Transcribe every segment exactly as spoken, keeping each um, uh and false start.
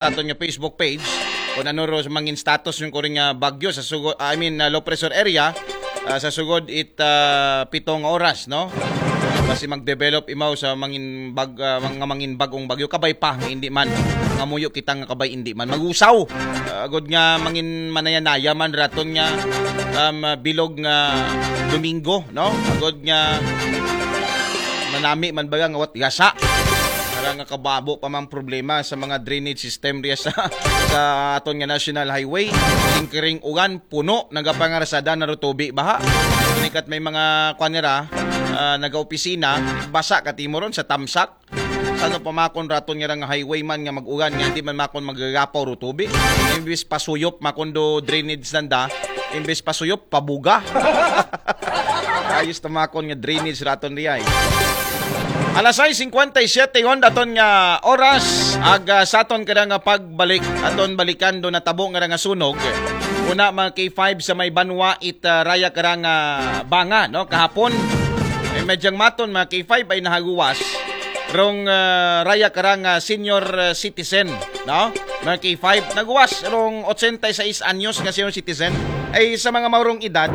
aton nga Facebook page kung ano ro mangin status yung kuring nga bagyo sa sugod, I mean, uh, low pressure area, uh, sa sugod it uh, pitong oras, no? Basi mag-develop imaw sa mangin bag uh, mga mangin bagong bagyo, kabay pa nga hindi man, nga muyo kita nga kabay hindi man magusaw. Uh, agod nga mangin manayanaya man raton nga um, bilog nga Domingo, no? Agod nga manami man baga nga wat gasa. Para nga kababo pa mang problema sa mga drainage system riya sa, sa aton nga National Highway. Tingkiring ugan, puno, nagapangarasada na rutubi baha. Nikat may mga kwanera, uh, nagaopisina, basa katimo ron sa tamsak. Sano pa makon raton nga nga highway man nga mag-ugan nga hindi man makon magagapaw rutubi. Imbis pasuyop makon do drainage nanda, imbis pasuyop pabuga. Ayos tamakon nga drainage raton riay. Alas sais singkwenta y siyete yon daton nga oras, ag uh, saton kada nga pagbalik, aton balikan do natabo nga nga sunog. Una mga K five sa may banwa it uh, raya kara nga banga, no, kahapon. Eh, medyang maton mga K five ay nahaguwas rong uh, raya kara nga senior uh, citizen, no? Mga K five, naguwas rong ochenta y seis anyos nga senior citizen. Ay sa mga maurong edad,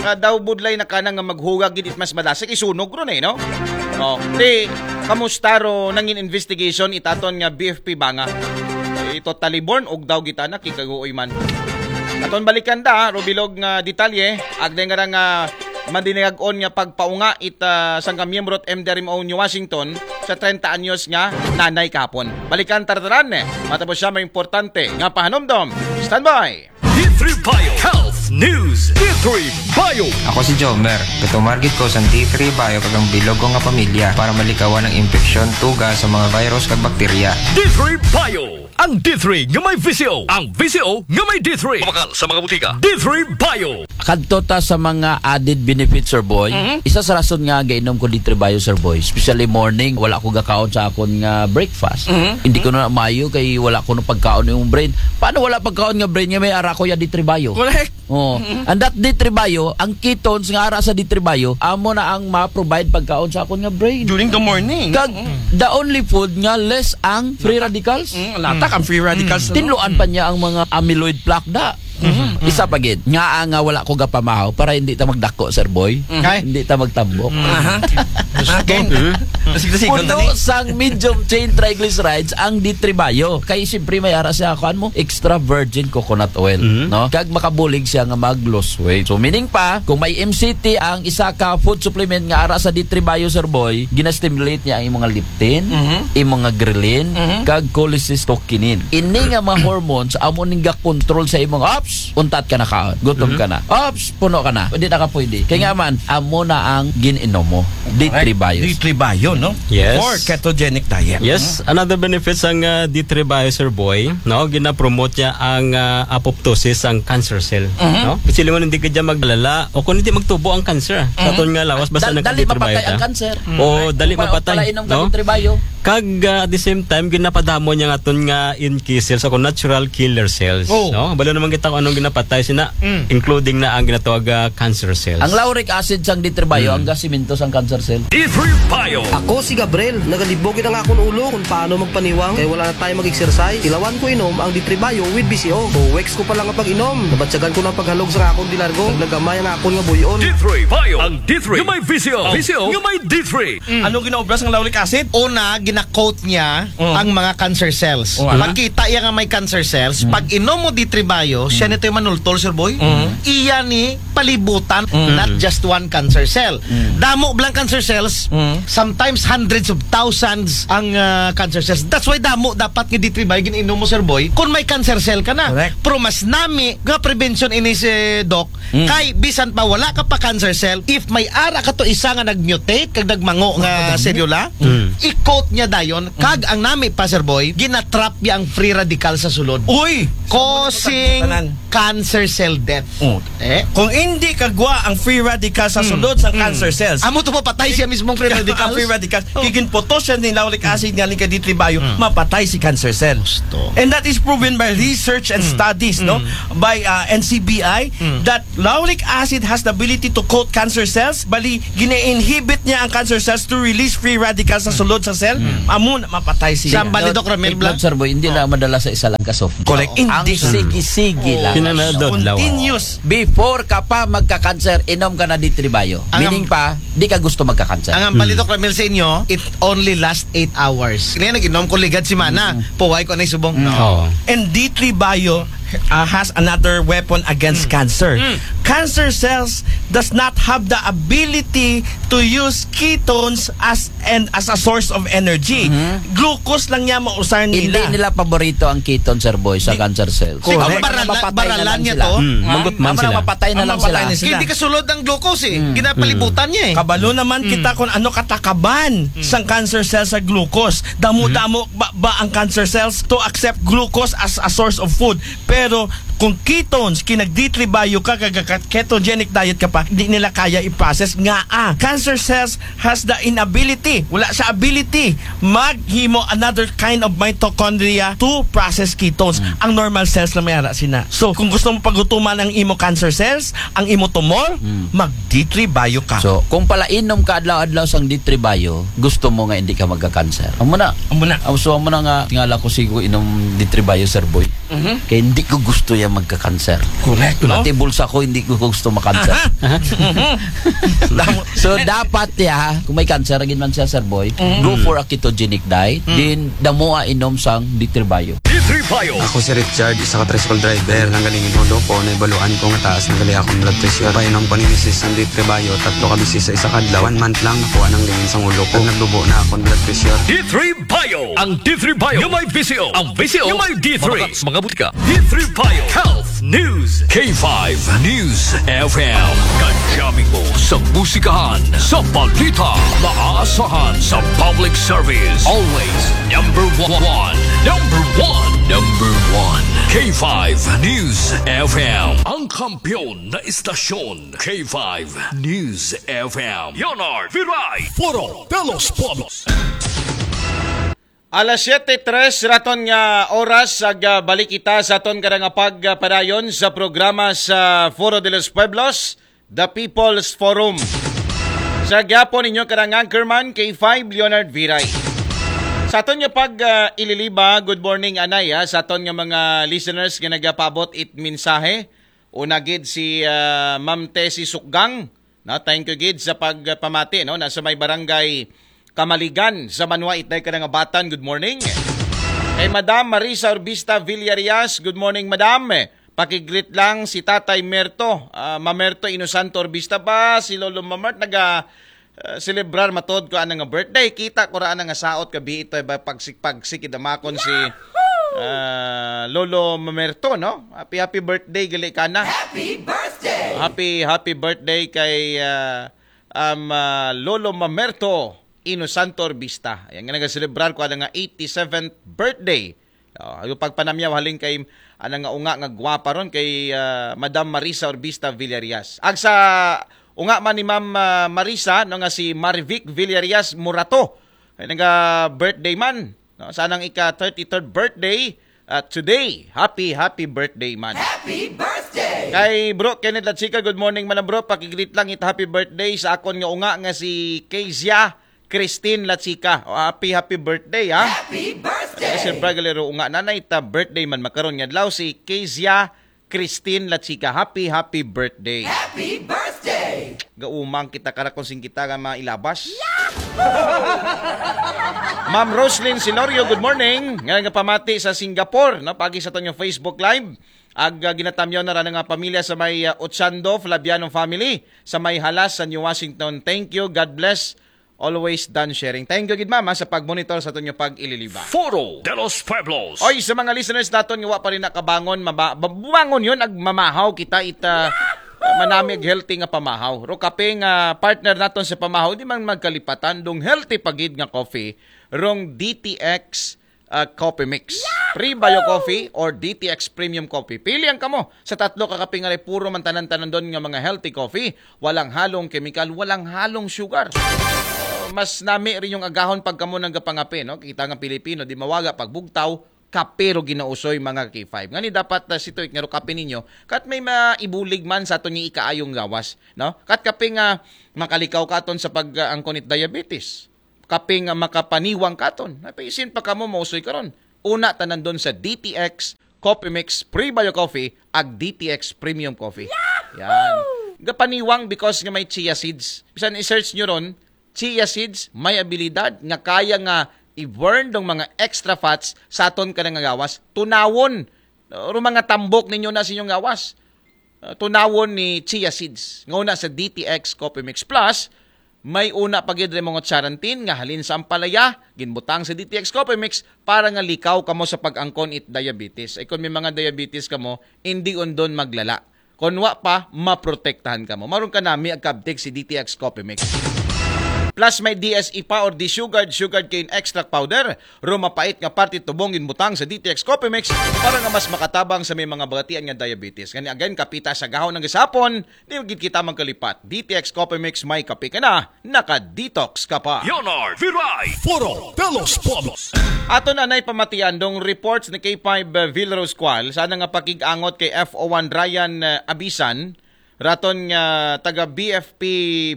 uh, daw budlay na kanang nga maghuga gid it mas madasig isunog ron eh, no? Oh, di kamusta ro nangin investigation itaton nga B F P banga? Ito totally born og daw gitana kikaguoy man. Aton balikan da, rubilog nga detalye, agday nga nga mandinagag-on nga pagpaunga it uh, sangka miyembro at M D R M O New Washington sa trenta anyos nga nanay kahapon. Balikan tartaran, matapos siya may importante nga pahanumdom. Standby! D three Bio Health News. D three Bio. Ako si Jomer. Gatumargit ko sa D three Bio kag ang bilog ko nga pamilya para malikawan ang impeksyon, tuga sa mga virus kag bakterya. D three Bio. Ang D three nga may V C O. Ang V C O nga may D three. Mabakal sa mga butika. D three Bio. Kadto ta sa mga added benefits, Sir Boy. Mhm. Isa sa rason nga gainom ko D three Bio, Sir Boy, especially morning, wala ko gakaon sa akon nga breakfast. Mhm. Hindi ko na maayo kay wala ko na pagkaon yung brain. Paano wala pagkaon nga brain nga may ara ko ya D three Bio? Correct. Oh, and that D three Bio, ang ketones nga ara sa D three Bio, amo na ang ma-provide pagkaon sa akon nga brain. During the morning. Kag the only food nga less ang free radicals. Mm, latak ang free radicals. Tinluan pa niya ang mga amyloid plaque da. Isa pa gid, nga nga wala ko gapamahaw para hindi ta magdako, Sir Boy. Kay? Hindi ta magtambok. Aha. Sige, sige, Puno continue. Sang medium chain triglycerides ang D three Bio. Kay siyempre may ara siya, kuan mo, extra virgin coconut oil, no? Kag makabulig siya nga mag-lose weight. So meaning pa, kung may M C T ang isa ka food supplement nga ara sa D three Bio, Sir Boy, gina-stimulate niya ang imong leptin, imong ghrelin, kag cholecystokinin. Ini nga mga hormones amo ning ga-control sa imong, ops, untat ka na kaon, gutom ka na. Ops, puno ka na. Hindi na ka pwede. Kaya nga man, amo na ang gin-inom mo. D three Bio. D three Bio, no? Yes. For ketogenic diet. Yes, another benefits ang uh, D three Bio, Sir Boy, no? Gina-promote niya ang uh, apoptosis, ang cancer cell, no? Kasi mo hindi ka dyan maglala o kung hindi magtubo ang cancer. Sa aton nga lawas, basta Dal- ng dali D three Bio mapatay ang ka. Cancer. O dali Kung pa- mapatay, kung palainom ka no? D three Bio. Kag uh, at the same time, ginapadamo niya nga aton nga N K cells, o natural killer cells. Oh. No? Balo naman kita kung anong ginapatay sina, including na ang ginatawag uh, cancer cells. Ang lauric acid sang D three Bio, ang gasimento sang cancer cell. D three Bio. Ako si Gabriel. Nagalibog ang akon ulo kung paano magpaniwang kay wala na tayo mag-exercise. Ilawan ko inom ang D three Bio with B C O. O weeks ko pa lang ang pag-inom. Nabatyagan ko ng paghalog sa akon dilargo. Naglagamay ang akon nga buyon. D three Bio. Ang D three. Nga may V C O. V C O. Nga may D three. Ano ginaobra sang lauric acid? Una, gina-coat niya ang mga cancer cells. Oh, ala. Pagkita iya nga may cancer cells, pag inom mo D three Bio, siya nito yung manultol, Sir Boy. Iya ni palibutan, not just one cancer cell. Damo blang cancer cells, sometimes hundreds of thousands ang ah, cancer cells. That's why damo dapat nga D three Bio gin-inom mo, Sir Boy, kung may cancer cell ka na. Correct. Pero mas nami nga prevention ini si Doc, kay bisan pa wala ka pa cancer cell, if may ara ka to isa nga nag-mutate kag nagmango nga selula, i-coat niya dayon, kag ang nami pa, Sir Boy, ginatrap niya ang free radical sa sulod. Uy! Causing Tanan. cancer cell death. Oh. Eh? Kung hindi kagwa ang free radical sa sulod sa cancer cells, Amo to, mapatay siya mismong free ang radicals. Free radicals. Oh. Kiginputos siya ni lauric acid nga lingka D three bio, mapatay si cancer cell. Gusto. And that is proven by research and studies, no? By uh, N C B I, that lauric acid has the ability to coat cancer cells, bali, gina-inhibit niya ang cancer cells to release free radicals sa sulod sa cell, amo na mapatay siya. Sambal ni Doc Ramil Take Blanc. Note, sir boy, hindi lang madala sa isa lang ka soft drink. Correct. Ang Hindi. sige-sige lang. Kinanadod lawa. Continuous. Before ka pa magka-cancer, inom ka na D three bio. Ang- Meaning pa, di ka gusto magka-cancer. Ang hambal ni Doc Ramil sa inyo, it only lasts eight hours. Kaya nag-inom ko ligad si Mana. Puway ko na yung subong. No. Oo. And D three bio uh, has another weapon against cancer. Cancer cells does not have the ability to use ketones as and as a source of energy. Glucose lang niya mausar Hindi nila. nila paborito ang ketone, sir boy, sa cancer cells. Di ba Ang mga barala- mapapatay na baralan lang niya sila. to? Hmm, magot man Ang mga sila. mapatay na Ang lang mapatay sila. na sila. Hindi kasulod ang glucose eh. Ginapalibutan niya eh. Kabalo naman kita kung ano katakaban sang cancer cell sa glucose. Damo-damo ba, ba ang cancer cells to accept glucose as a source of food? Pero kung ketones, kinag D three bio ka, kag ketogenic diet ka pa, di nila kaya i-process nga ah. Cancer cells has the inability, wala siya ability, maghimo another kind of mitochondria to process ketones. Ang normal cells lang may ara sina. So, kung gusto mo pagutuman ang imo cancer cells, ang imo tumor, mag D three bio ka. So, kung palainom ka adlaw-adlaw sang D three bio, gusto mo nga hindi ka magka-cancer. Amo na. Amo na. Ang so, amo na nga, tingala ko sigo inom D three bio, sir boy. Kaya hindi ko gusto yan magka-cancer. Correct, no? Pati bulsa ko, hindi ko gusto makanser. So, dapat ya, kung may cancer, agin man siya, sir boy, go for a ketogenic diet, then damo a inom sang D three bio. D three Bio. Ako si Richard, isa ka tricycle driver. Nang galing inulo ko, naibaluan ko nga taas na gali akong blood pressure. Painom ko ni misis ang D three Bio, tatlo ka bisis sa isa ka adlaw. One month lang, nakuha nang lingin sang ulo ko. Nagdubo na akong blood pressure. D three Bio. Ang D three Bio. Yung may V C O. Ang V C O. Yung may D three. Mga butika. D three Bio. Health News. K five News F M. Kajami mo sa musikahan, sa balita, maaasahan sa public service. Always number one. Number one. Number one. K five News F M. Ang kampiyon na istasyon. K five News F M. Leonard Viray. Foro de los Pueblos. Alas siyete tres raton nga oras, ag, ah, balik kita sa aton kada nga pagpadayon sa programa sa Foro de los Pueblos, The People's Forum. Sa gyapon ninyo kada nga anchorman, K five Leonard Viray. Sa aton nga pag, ah, ililiba, good morning, anay, ah, sa aton nga mga listeners nga nagapabot it mensahe. Una gid si, ah, Ma'am Tessie Sukgang. No, thank you gid sa pagpamati, no, na sa may barangay Kamaligan sa Banwa, itday ka na nga batan. Good morning. Kay Madam Marisa Urbista Villarias, good morning, Madam. Pakigreet lang si Tatay Merto, ah, Mamerto Inosanto Urbista ba, si Lolo Mamart, naga, ah, celebrar matod ko ana nga birthday. Kita ko ra ana nga saot ka bi ito ba, pagsik-pagsik idamakon si, ah, Lolo Mamerto, no? Happy, happy birthday gali kana. Happy birthday. Happy, happy birthday kay, ah, um, ah, Lolo Mamerto Inosanto Urbista. Ayan nga nagaselebrar ko ana nga eighty-seventh birthday. Oh, yung pagpanamyaw halin kay ana nga unga nga gwapa ron kay, ah, Madam Marisa Urbista Villarias. Ag sa unga man ni Ma'am, ah, Marisa, no, nga si Marivic Villarias Murato. Ay naga birthday man, no? Sa anang ika thirty-third birthday, ah, today. Happy, happy birthday man. Happy birthday. Kay Bro Kenneth Latsika, good morning man, bro. Pakigreet lang it happy birthday sa akon nga unga nga si Kezia Christine Latsika. O, happy, happy birthday, ha? Happy birthday. Sir Bragalero, unga nanay ta birthday man makaron nga adlaw si Kezia Christine Latsika. Happy, happy birthday. Happy birthday. Gaumang kita kara kung sing kita nga mga ilabas. Ma'am Roslyn Silorio, good morning. Nga nga pamati sa Singapore, no? Pagi sa aton nga Facebook Live. Ag, ah, ginatamyaw na ra nga pamilya sa may, ah, Ochando, Flaviano family, sa may Halas, sa New Washington. Thank you. God bless. Always done sharing. Thank you gid, ma'am, ha, sa pag-monitor sa aton nga pag-ililiba. Foro de los Pueblos. Oy, sa mga listeners naton nga wa pa rin nakabangon, maba- bumangon yun, ag mamahaw kita ita, manami ag healthy nga pamahaw. Ro kape nga partner naton sa pamahaw, di man magkalipatan, dong healthy pagid nga coffee, rong D T X ah, Coffee Mix. Prebio Coffee or D T X Premium Coffee. Pili ang kamo sa tatlo ka kape nga puro man tanan-tanan doon nga mga healthy coffee. Walang halong kemikal, walang halong sugar. Ah, mas nami rin yung agahon pag kamo nagapangape, no? Kita nga Pilipino, di mawaga pag bugtaw, kape ro ginausoy, mga K five. Ngani dapat, ah, si Tuik nga ro kape ninyo, kat may maibulig man sa aton nga ikaayong gawas, no? Kat kape nga makalikaw katon sa pag, ah, angkon it diabetes. Kape nga makapaniwang katon. Napaisin pa kamo mausoy karon. Una tanan doon sa D T X Coffee Mix Prebio Coffee ag D T X Premium Coffee. Yan. Gapaniwang because nga may chia seeds. Bisan i-search nyo ron, chia seeds may abilidad nga kaya nga i-burn dong mga extra fats sa aton ka nga gawas. Tunawon, ro mga tambok ninyo na sa inyong gawas. Uh, tunawon ni chia seeds. Nga una sa D T X Coffee Mix Plus, may una pa gid rin mga charantin nga halin sa ampalaya, ginbutang sa D T X Coffee Mix para nga likaw kamo sa pag-angkon it diabetes. Ay kung may mga diabetes kamo, hindi undon maglala. Kung wa pa, maprotektahan kamo. Maroon ka nami agkabtik si D T X Coffee Mix. Plus may D S E pa or desugared sugarcane extract powder. Ro mapait nga parte tubong ginbutang sa D T X Coffee Mix para nga mas makatabang sa may mga bagatian nga diabetes. Ngani again, kapita sa gahon ng gisapon, di gid kita magkalipat. D T X Coffee Mix, may kape ka na, naka-detox ka pa. Leonard Viray. Foro de los Pueblos. Aton anay pamatian dong reports ni K five, uh, Villaroscual, sana nga pakig-angot kay F O one Ryan, uh, Abisan, raton nga taga B F P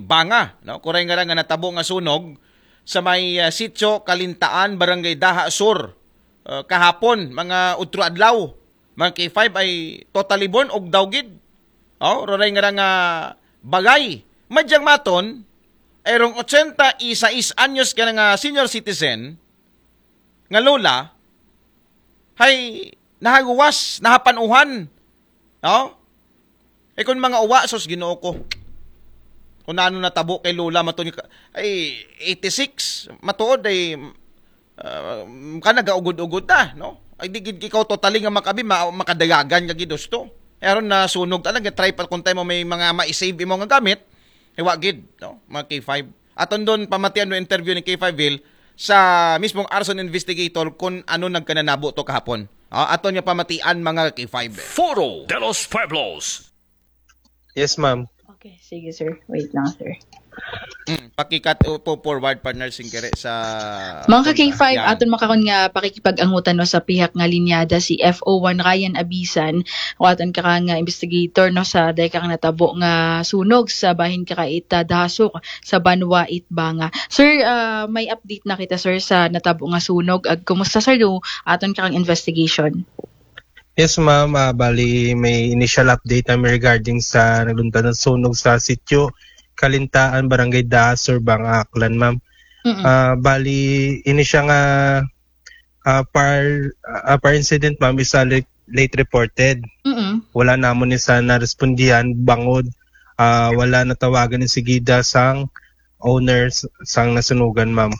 Banga, no? Kuray nga ra nga natabo nga sunog sa may, uh, Sitio Kalintaan, Barangay Daha Sur, uh, kahapon, mga utro adlaw. Mga K five ay totally burn og daw gid. Oh, roray nga ra nga bagay. Madyang maton, ay rong ochenta y seis anyos ka na nga senior citizen, nga lola, hay nahaguwas, nahapanuhan. No? Eh kung mga uwa, sus, Ginoo ko. Kung ano natabo kay lola, matun-, ay eighty-six, matuod ay, ah, ka nagaugod-ugod na, no? Ay di gid ikaw totally nga makabi, ma-, makadayagan ka gid husto. Eh, aron na sunog talaga, try pa kung tayo mo may mga ma-save imo nga gamit, eh, wa gid, no? Mga K five. Aton doon pamatian no interview ni K five Hill sa mismong arson investigator kung ano nagkananabo to kahapon. Ah, aton nga pamatian, mga K five. Foro de los Pueblos. Yes, ma'am. Okay, sige sir. Wait lang, sir. Mm, pakikat po forward, partner, singkere sa Mga ka K five, aton makaron nga pakikipag-angutan no sa pihak nga linyada si F O one Ryan Abisan, o aton ka nga investigator no sa dahil ka natabo nga sunog sa bahin ka ita Dahasok sa Banwa Itbanga. Sir, ah, may update na kita, sir, sa natabo nga sunog. Ag kumusta, sir, yung aton ka investigation? Yes, ma'am. Ah, bali, may initial update namin regarding sa nagluntad ng sunog sa sitio Kalintaan, Barangay Dahasor, Banga, Aklan, ma'am. Mm-mm. Ah, bali, ini siya nga ah, par, ah, par incident, ma'am, is ah, late, late reported. Mm-mm. Wala namon ni sa narespondihan, bangod, ah, wala natawagan ni sigida sang owners sang nasunugan, ma'am.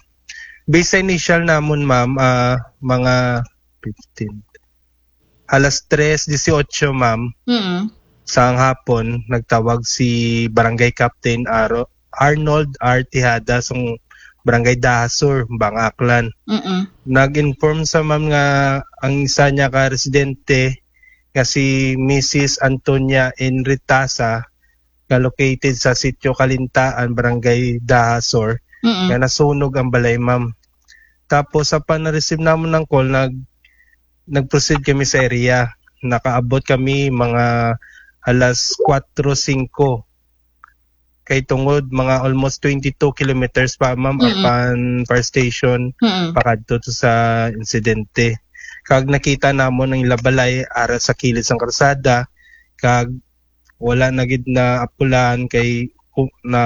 Based sa initial namon, ma'am, ah, mga fifteen. Alas tres dieciocho, ma'am, Mm-mm. sang hapon, nagtawag si Barangay Captain Aro, Arnold R. Tejada, sang Barangay Dahasur, Banga, Aklan. Mm-mm. Nag-inform sa, ma'am, nga ang isa niya ka residente nga si Missus Antonia N. Ritasa, nga located sa Sitio Kalintaan, Barangay Dahasor, Mm-mm. nga nasunog ang balay, ma'am. Tapos, sa pa-receive namon ng call, nag nag-proceed kami sa area. Nakaabot kami mga alas kwatro singko. Kay tungod mga almost twenty-two kilometers pa, ma'am, Mm-mm. apan fire station, Mm-mm. pakadto to sa insidente. Kag nakita namon ang ila balay ara sa kilid sang karsada, kag wala na gid na apulan kay, u-, na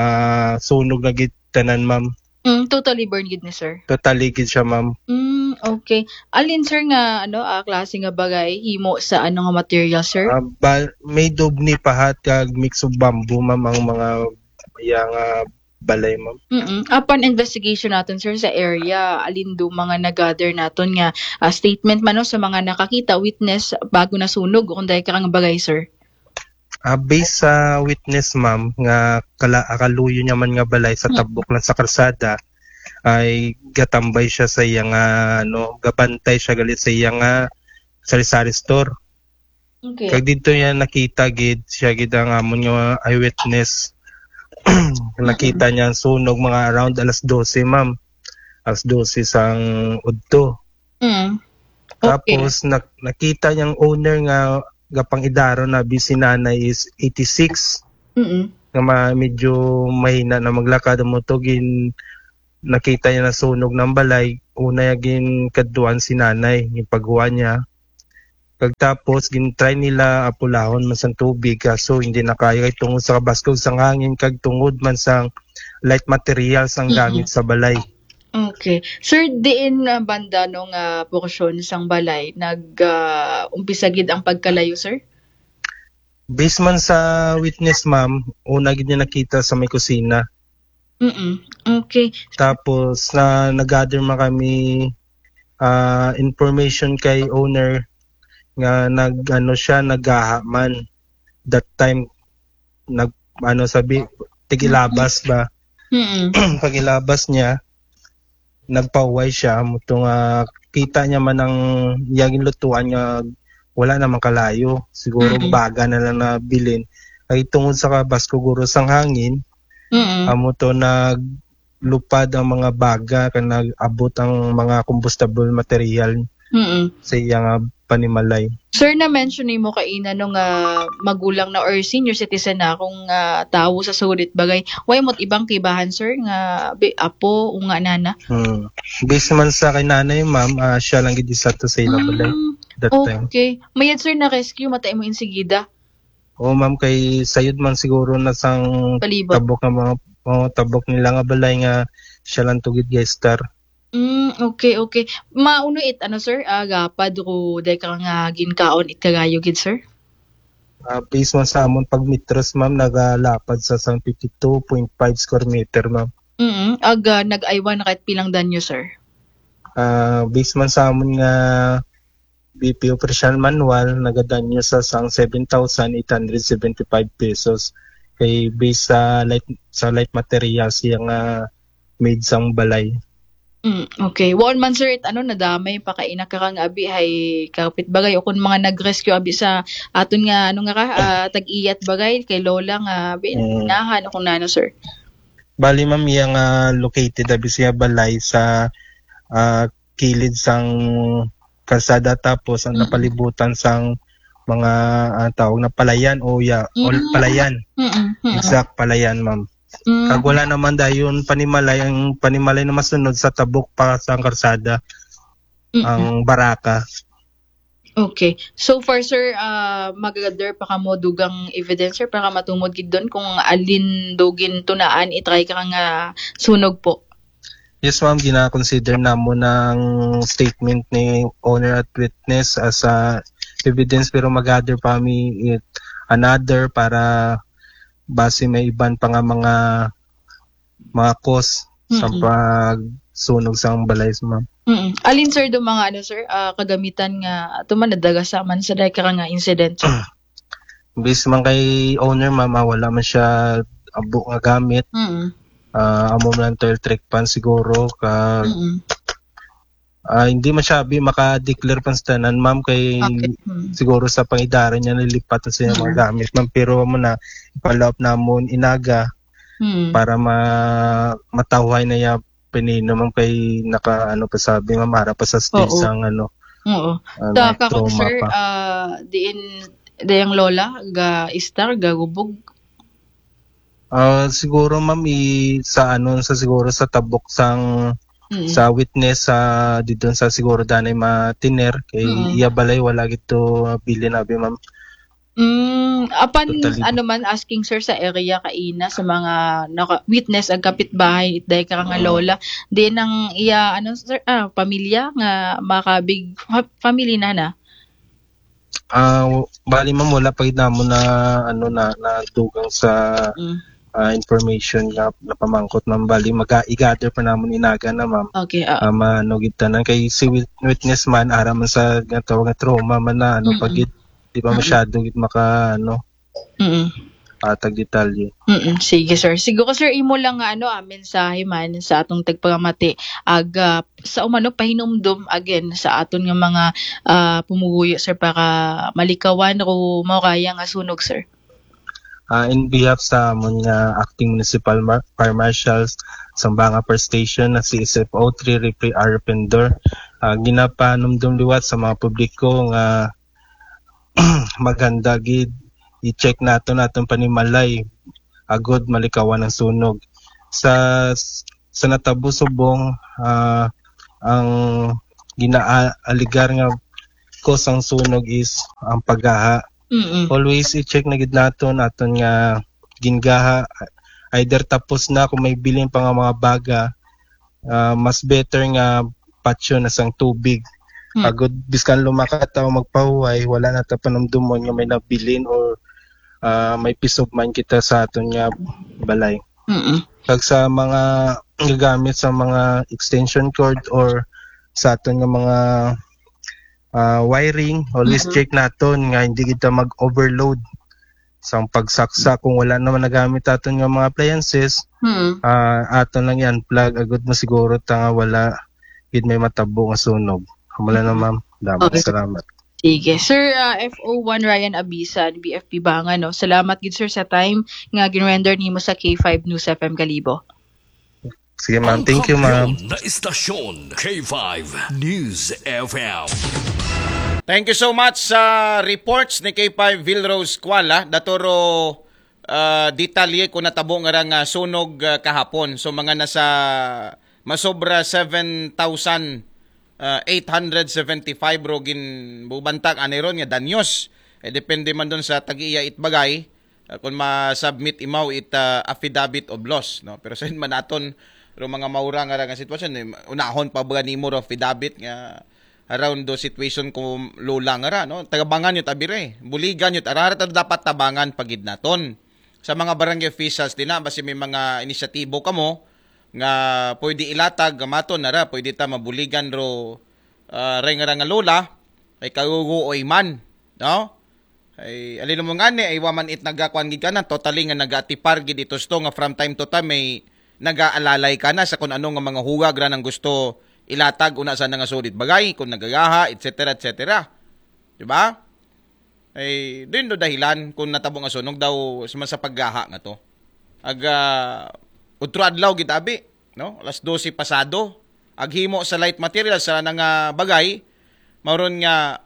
sunog na gid tanan, ma'am. Mm, totally burned gid ni sir. Totally gid siya, ma'am. Mm, okay. Alin, sir, nga ano, ah, klase nga bagay himo sa ano nga material, sir? Ah, ba, made of nipahat kag mix of bamboo, ma'am, ang mga yang ah, balay, ma'am. Mm-mm. Upon investigation naton, sir, sa area, alin do mga nag-gather naton nga ah, statement man, no, sa mga nakakita, witness, bago nasunog kung dahil ka nga bagay, sir? Ah, based sa witness, ma'am, nga kala, kaluyo niya man nga balay sa Hmm. tabok lang sa karsada, ay gatambay siya sa iya nga, ano, gabantay siya gali sa iya nga sari-sari store. Okay. Kag didto niya nakita gid siya gid ang amon nga eyewitness. Nakita niya ang sunog mga around alas dose, ma'am. Alas dose sang udto. Mm. Okay. Tapos nak- nakita niyang owner nga gapang-idara na abi si nanay is eighty-six. Mm. Nga ma- medyo mahina na maglakad, amo to gin nakita niya na sunog ng balay, una niya ginkadtuan si nanay, yung paghuwa niya. Pagtapos, gin-try nila apulahon man sang tubig, kaso hindi na kaya kay tungod sa kabaskog sang hangin kag tungod man sang light materials ang Mm-mm. gamit sa balay. Okay. Sir, diin nga banda no nga porsyon sang balay nag ah, umpisa gid ang pagkalayo, sir? Based man sa witness, ma'am, una gid niya nakita sa may kusina. Mm. Okay. Tapos na nag-gather man kami ah, information kay owner nga nag ano siya, naggaha man that time, nag ano sabi, tigilabas ba? Mm. Pagilabas niya, nagpauway siya, muto nga kita niya man ang iyang lutuan nga wala naman kalayo, siguro Mm. baga na lang nabilin. Ay tungod sa kabaskog guro sang hangin, Mm. amo to naglupad ang mga baga kag nag-abot ang mga combustible material Mm. sa iya nga panimalay. Sir, na-mention nimo kaina no nga magulang na or senior citizen na akong ah, tawo sa sulit bagay. Way mo't ibang kibahan, sir, nga bi- apo o nga nana? Hmm. Based man sa kay nanay, ma'am, ah, siya lang gid isa to sa ila balay Mm, that time. Okay. Mayad, sir, na rescue matay mo insigida. Oo, ma'am, kay sayod man siguro na sang Palibot. Tabok nga mga oh, tabok nila nga balay nga siya lang to gid gaistar. Mm, okay, okay. Mauno it ano, sir? Ah, gapad ko day ka nga ginkaon it kagayo gid, sir? Ah, based man sa amon pagmetros, ma'am, nagalapad sa sang fifty-two point five square meter, ma'am. Mm. Ag ah, nag-aywan na kahit pilang danyo, sir? Ah, based man sa amon nga B P O Operational Manual, nagadanyo sa sang seven thousand eight hundred seventy-five pesos. Kay based sa light sa light materials siya nga made sang balay. Mm, okay. Waon man, sir, it ano, nadamay pa kaina ka nga abi hay kapit bagay o kun mga nag-rescue abi sa aton nga ano nga ka, ah, tag-iyat bagay kay lola nga abi Mm. Nahan o kung nano, sir. Bali, ma'am, iya nga located abi siya balay sa ah, kilid sang kalsada, tapos ang Mm. napalibutan sang mga ah, tawag na palayan o ya, o Mm. palayan. Mm. Mm. Exact palayan, ma'am. Mm. Kag wala naman dayon panimalay, ang panimalay na masunod sa tabok pa sang kalsada, Mm. ang baraka. Okay. So far, sir, ah, magagather pa kamo dugang evidence, sir, para matumod gid doon kung alin dugin tunaan itry ka nga sunog po. Yes, ma'am, gina-consider namon ang statement ni owner at witness as a evidence, pero mag-gather pa mi it another para base may iban pa nga mga mga cause sa Mm-mm. pagsunog sa balay, ma'am. Mm. Alin, sir, do mga ano, sir, ah, kagamitan nga ato man nadagasa man sa dahil ka nga incident, sir? Based man kay owner, ma'am, ah, wala man siya abo nga gamit. Mm. Ah, amo man lang toilet trick pan siguro ka Mm. ah, hindi man siya abi maka-declare pan sa tanan, ma'am, kay Okay. Mm. siguro sa pangidaran niya nilipat na siya mga Mm. gamit, ma'am, pero mo na ipalaop namon inaga Mm. para ma matawhay na ya pinino, ma'am, kay naka ano pa sabi, ma'am, ara pa sa stage Oo. sang ano Oo. ah, Sa na kakon, trauma sir, pa. Ah, diin dayang lola ga istar gagubog. Ah, siguro, ma'am, i sa ano sa siguro sa tabok sang Mm. sa witness sa didon sa siguro danay matiner kay Mm. iya balay wala gito bilin abi, ma'am. Mm, apan Totally. Ano man asking, sir, sa area kaina sa mga naka, witness ag kapitbahay itday ka nga Mm. lola. Di nang iya ano, sir, ah, pamilya nga makabig fa- family na na. Ah, w- bali, ma'am, wala pa gid namon na ano na nadugang sa Mm. ah, information nga napamangkot, ma'am. Bali, mag i-gather pa namon inaga na, ma'am. Okay, ah. Ah, maano gid tanan kay si wit- witness man ara man sa nga tawag nga trauma man na ano pa Mm-mm. gid, di pa Mm-mm. masyado gid maka ano Mm. ah, tagdetalye. Mm, sige, sir. Siguro, sir, imo lang nga ano, ah, mensahe man sa atong tagpangamati, ag, ah, sa umano pahinumdom again sa aton nga mga, ah, pumuguyo, sir, para malikawan ro mauraya nga sunog, sir. Ah, in behalf sa amon nga acting municipal mar- fire marshals, Zamboanga First Station, na si S F O three Referee R Pendor, ah, ginapanumdum liwat sa mga publiko nga maghanda gid, i-check naton aton panimalay agud malikawan ang sunog. Sa sa natabo subong, ah, ang ginaaligar nga cause ang sunog is ang paggaha. Mm. Always i-check na gid naton aton nga gingaha, either tapos na, kung may bilin pa nga mga baga, ah, mas better nga patyo na sang tubig. Hmm. Agud biskan lumakat o magpahuway, wala na ta panumdumon nga may nabilin or, ah, may peace of mind kita sa aton nga balay. Mm. Kag sa mga gagamit sa mga extension cord or sa aton nga mga, ah, wiring, always Mhm. check naton nga hindi kita mag-overload. Sang pagsaksak, kung wala naman nagamit aton nga mga appliances, Mm. ah, aton lang i-unplug agud masiguro ta nga wala gid may matabo nga sunog. Amo lang na, ma'am. Damo, Okay. Salamat. Sige. Sir, ah, F O one Ryan Abisan, B F P Bangan, no? Salamat gid, sir, sa time nga ginrender nimo sa K five News F M Kalibo. Sige, ma'am. Thank you, ma'am. Na istasyon, K five News F M. Thank you so much sa reports ni K five Vilrose Kuala. Daturo, ah, detalye kung natabo nga ra nga sunog, ah, kahapon. So, mga nasa masobra seven thousand, ah, eight hundred seventy-five ro ginbubantag anay ron nga danyos. Eh, depende man doon sa tag-iya itbagay, ah, kung ma-submit imaw it, ah, affidavit of loss, no? Pero sa man aton ro mga maura nga ra nga sitwasyon, eh, unahon pa ba nimo ro affidavit nga around do situation ko lula nga ra, no? Tabangan yun, abire. Buligan yun, arara ta dapat tabangan pagid naton. Sa mga barangay officials din na, basi may mga inisyatibo kamo nga pwede ilatag, maton na ra, pwede ta mabuligan ro, ah, ray nga ra nga lola, ay kaguguoy man, no? Ay, alin mo nga ni, ay waman it nagakuan gid ka na, totally nga nagatipar gid ito sto nga from time to time may nagaalalay ka na sa kung ano nga mga huwag ra nang gusto ilatag una sa nga sulit bagay, kung nagagaha, et cetera, et cetera. Di ba? Ay, din do dahilan kung natabo nga sunog daw sa, sa paggaha nga to. Ag, ah, utro adlaw gid abi, no? Alas dose pasado. Aghimo sa light material sa na nga bagay, mauron nga,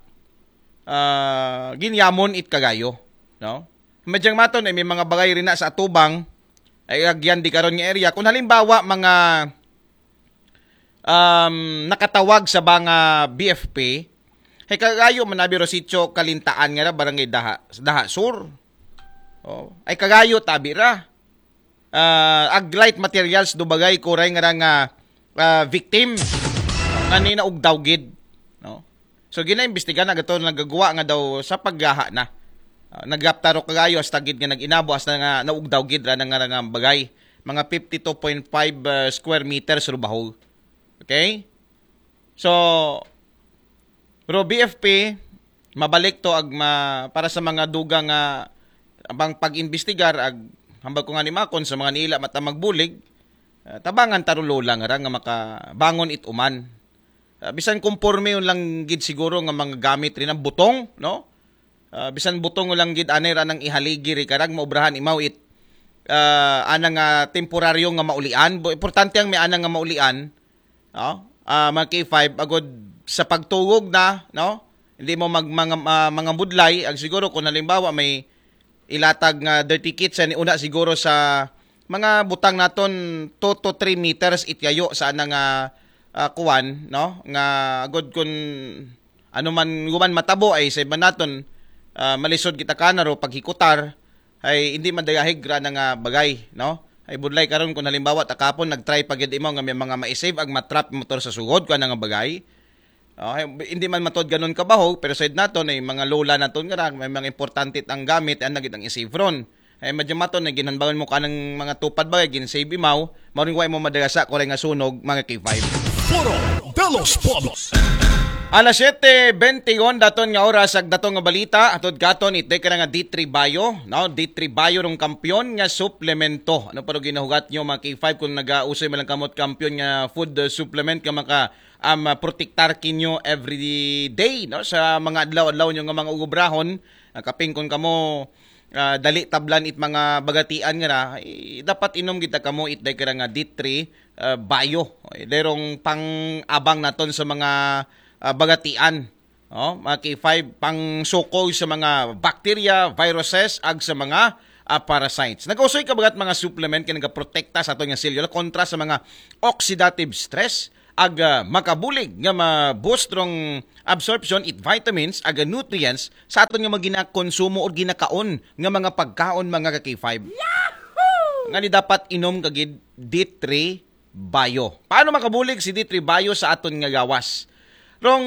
ah, ginyamon it kagayo, no? Madyang maton ay may mga bagay rin na sa atubang, ay agyan di karon nga area. Kung halimbawa, mga, um, nakatawag sa mga B F P, ay kagayo man abi ro sitio Kalintaan nga ra, barangay Daha, Daha Sur. Oh, ay kagayo tabi ra. Ah, ag light materials do bagay kuray nga ra nga, ah, victim. Nga ni naugdaw gid, no? So, ginaimbestiga na gato nagagawa nga daw sa paggaha na. Ah, nagaptaro kagayo hasta gid nga nag-inabo hasta nga naugdaw gid ra na nga, nga bagay. Mga fifty-two point five, ah, square meters ro bahog. Okay? So, ro B F P, mabalik to ag ma, para sa mga dugang nga abang pag-imbestigar ag hambal ko nga ni Makon sa mga niila mata magbulig, ah, tabangan taro lola nga ra nga makabangon it uman. Ah, bisan konporme yun lang gid siguro nga mga gamit rin ang butong, no? Ah, bisan butong lang gid anay ra nang ihaligi ri karag maubrahan imaw it, ah, anang, ah, temporaryo nga maulian. Bu-, importante ang may anang nga maulian, no? Ah, mga K five, agod sa pagtugog na, no? Hindi mo mag, mga, ah, mga budlay, ag siguro kung halimbawa may ilatag nga dirty kitchen, una siguro sa mga butang naton two to three meters ityayo sa anang, ah, ah, kuwan, no? Nga agod kun ano man guman matabo ay sa iba naton, ah, malisod kita kanaro paghikutar ay hindi madayahig ra na nga bagay, no? Ay budlay karon kung halimbawa takapon nag-try pa gid imo nga may mga ma-save ag matrap motor sa sugod ko nga bagay. Okay, hindi man matod ganun kabahog, pero said naton ay mga lola naton nga ra, may mga importante ang gamit, ang nagit ang isave ron. Ay madya maton na ginhanbangan mo kanang mga tupad bagay, gin-save imaw, maring way mo madagasa ko nga sunog, mga K five. Foro de los Pueblos. Alas siyete bente daton nga oras, ag daton nga balita hatod katon, it day ka na nga D three Bio, no? D three Bio rong kampiyon nga suplemento. Ano pa ro ginahugat nyo, mga K five, kung nagausoy man lang kamot kampiyon nga food, uh, supplement nga maka, um, uh, protektar kinyo every day, no? Sa mga adlaw-adlaw nyo nga mga ugobrahon, uh, kaping kung kamo, uh, dali tablan it mga bagatian nga na, eh, dapat inom kita kamo it day ka na nga D three, uh, Bio. Derong pang-abang naton sa mga, uh, bagatian. Oh, mga K five, pang sukoy sa mga bacteria, viruses, ag sa mga, ah, parasites. Nagausoy ka bagat mga supplement kay nagaprotekta sa aton nga selula kontra sa mga oxidative stress, ag, ah, makabulig nga ma-boost rong absorption it vitamins ag nutrients sa aton nga mga ginakonsumo o ginakaon nga mga pagkaon, mga ka K five. Nga ni dapat inom kagid D three Bio. Paano makabulig si D three Bio sa aton nga gawas? Rong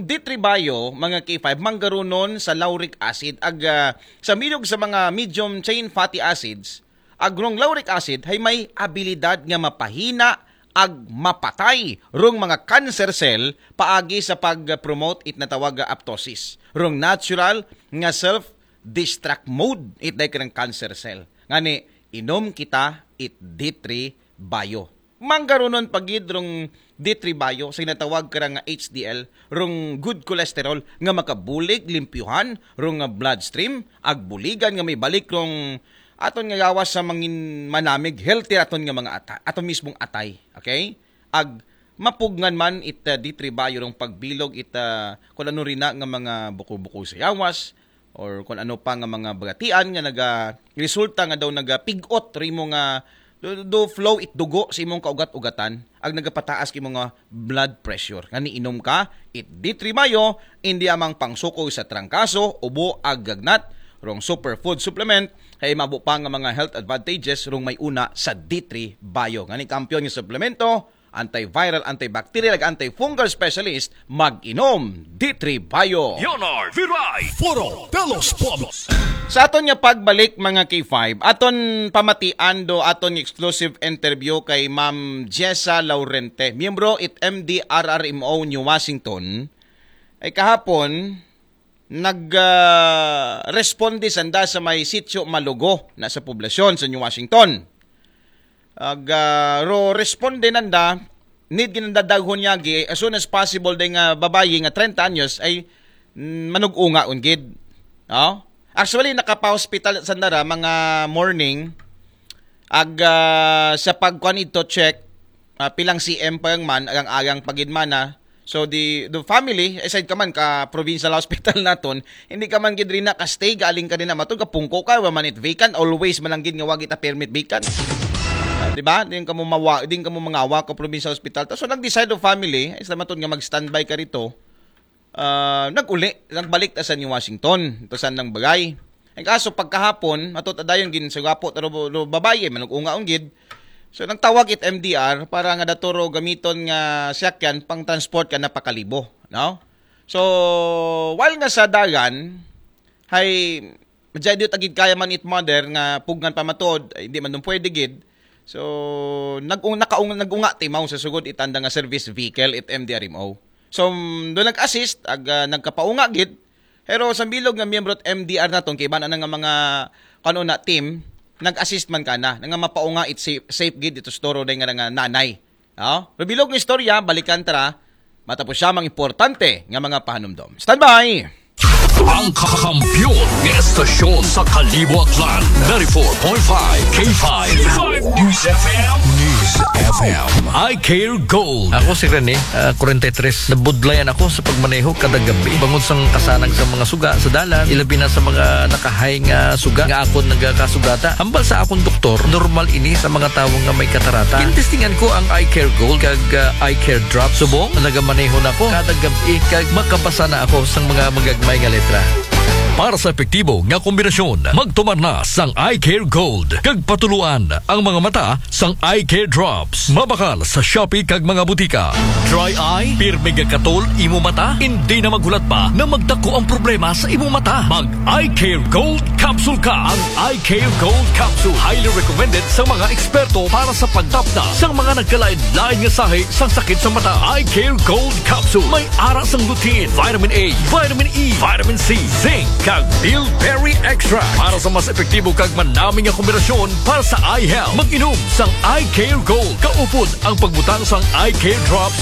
D three Bio, mga K five, manggarunon sa lauric acid ag, ah, sa milog sa mga medium chain fatty acids. Ag rong lauric acid hay may abilidad nga mapahina ag mapatay rong mga cancer cell paagi sa pag-promote it natawag nga apoptosis. Rong natural nga self-destruct mode it day ka ng cancer cell. Ngani, inom kita it D three Bio. Manggarunon pagid rong D three Bio sa ginatawag ka nga H D L, rong good cholesterol nga makabulig limpyuhan rong, ah, bloodstream, ag buligan nga may balik rong aton nga gawas sa mangin manamig, healthy aton nga mga ata-, aton mismong atay, okay? Ag mapugngan man it, ah, D three Bio rong pagbilog it, ah, kung ano rin na nga mga buko-buko sa yawas, or kung ano pa nga mga bagatian nga naga-resulta nga daw nagapig-ot ri mo nga do, do flow it dugo sa imong kaugat-ugatan, ag nagapataas ka imong nga blood pressure. Nga niinom ka, it D three Bio, indi amang pangsukoy sa trangkaso, ubo, ag gagnat, rong superfood supplement, hay mabo pa nga mga health advantages rong may una sa D three Bio. Nga ni kampiyon nga suplemento, antiviral, antibacterial, ag antifungal specialist, mag-inom D three Bio. Leonard Viray, Foro de los Pueblos. Sa aton nga pagbalik, mga K five, aton pamatian do aton exclusive interview kay Ma'am Jessa Laurente, miyembro it M D R R M O New Washington, ay kahapon, nag, ah, responde sanda sa may Sitio Malugo na sa poblasyon sa New Washington. Ag, ah, ro responde nanda, need ginanda daghon yagi, as soon as possible, day nga babayi nga trenta anyos ay, mm, manug-unga ungid. No? Actually, nakapa-hospital sanda ra mga morning, ag, ah, sa pagkuan ito check, ah, pilang C M pa yung man, agang-agang pagid man na. So, the, the family, aside ka man ka provincial hospital naton, hindi ka man gid rin na ka-stay, galing ka rin na matod, kapungko ka, wa man it vacant, always man lang gid nga wagi ta permit vacant. Ah, di ba? Din ka mo mawa, din ka mo mangawa ka provincial hospital. Ta, so, nag-decide of family, ay sa matod nga mag-standby ka rito, ah, nag-uli, nagbalik ta sa New Washington, ito sa nang bagay. Ang kaso, pagkahapon, matod adayon gin sa gwapo, taro, ro babayi, manug-unga unggid. So, nagtawag it M D R para nga daturo gamiton nga siyakyan pang transport ka na pakalibo, no? So, while nga sa dagan, hay, madyadyo tagid kaya man it mother nga pugngan pa matod, ay, hindi man dun pwede gid. So, nag-, nakaung-, nag-unga timaw sa sugod itanda nga service vehicle it M D R M O. So, mm, doon nag-assist, ag, ah, nagkapaunga gid. Pero sa bilog nga miyembro at M D R naton, kay iba na nga mga, kano na, team, nag-assist man ka na, nga mapaunga it safe, safe gid ito sa toro day nga, nga nanay. Oh? Pero bilog nga istorya, balikan tara, matapos siya mga importante nga mga pahanumdom. Standby! Ang kakampiyon ng estasyon sa Kalibo, Aklan, ninety-four point five K five News F M. News F M. I Care Gold. Ako si Rene, ah, forty-three. Nabudlayan ako sa pagmaneho kada gabi. Bangod sa kasanag sa mga suga sa dalan, ilabi na sa mga nakahay nga suga nga akon nagakasugata. Hambal sa akong doktor, normal ini sa mga tawo nga may katarata. Gintestingan ko ang Eye Care Gold kag, ah, Eye Care Drop. Subong, nagamaneho na ko kada gabi kag makabasa na ako sa mga magagmay nga letra. Para sa epektibo nga kombinasyon, magtumar na sang Eye Care Gold kag patuluan ang mga mata sang Eye Care Drops. Mabakal sa Shopee kag mga butika. Dry eye, pirmi nga katol imo mata, hindi na maghulat pa na magdako ang problema sa imo mata. Mag Eye Care Gold Capsule ka. Ang Eye Care Gold Capsule, highly recommended sa mga eksperto para sa pagtapna sa mga nagkalain-lain nga sahi sang sakit sa mata. Eye Care Gold Capsule, may ara sang lutein, vitamin A, vitamin E, vitamin C, zinc, kag bilberry extract para sa mas epektibo kag manami nga kombinasyon para sa eye health. Mag-inom sang Eye Care Gold. Kaupod ang pagbutang sang Eye Care Drops